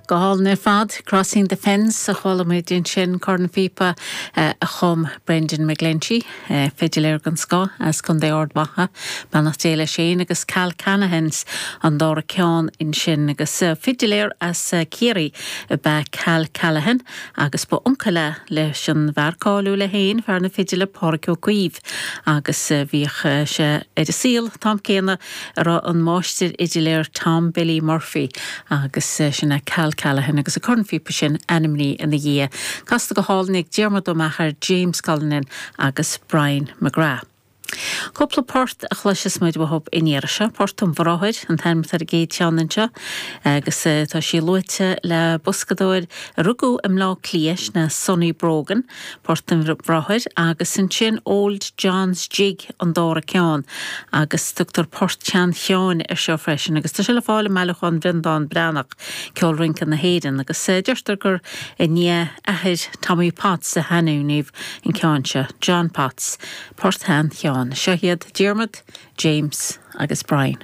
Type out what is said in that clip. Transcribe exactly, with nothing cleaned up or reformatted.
Go hálainn ar fad Crossing the Fence a chuala muid ansin cornphíopa a chum Brendan McGlinchey, fidiléir den scoth as Contae Ard Mhacha, beannacht Dé leis féin agus Cal Callaghan's an dara ceann ansin agus fidiléir as Ciarraí ab ea Cal Callaghan agus ba uncail leis an bhfear cáiliúil é féin fear na fidile Pádraig Ó Caoimh agus bhíodh sé ar an saol an t-am céanna a raibh an máistir fhidiléir Tom Billy Murphy agus sin é Cal Callaghan agus an cornphíopa sin ainmnithe ina dhiaidh. Casta go hálainn ag Diarmuid Ó Meachair, James Cullinan agus Brian McGrath. Cúpla port a chloisfidh muid uathub an iarraidh seo, Port an Bhráthair an t-ainm ar an gcéad cheann anseo, agus tá sí luaite le boscadóir a rugadh i mBleá Cliath ná Sonny Brogan, Port an Bhráthair agus ansin Old John's Jig an dara ceann agus tugtar Port Shean Sheáin ar seo freisin agus tá sé le fáil i mbailiúchán Bhreandán Breathnach Ceol Rince na hÉireann agus deirtear gur i ndiaidh athair Tommy Potts a hainmníodh an ceann seo, John Potts, Port Shean Sheáin. Seo iad Diarmuid, James agus Brian.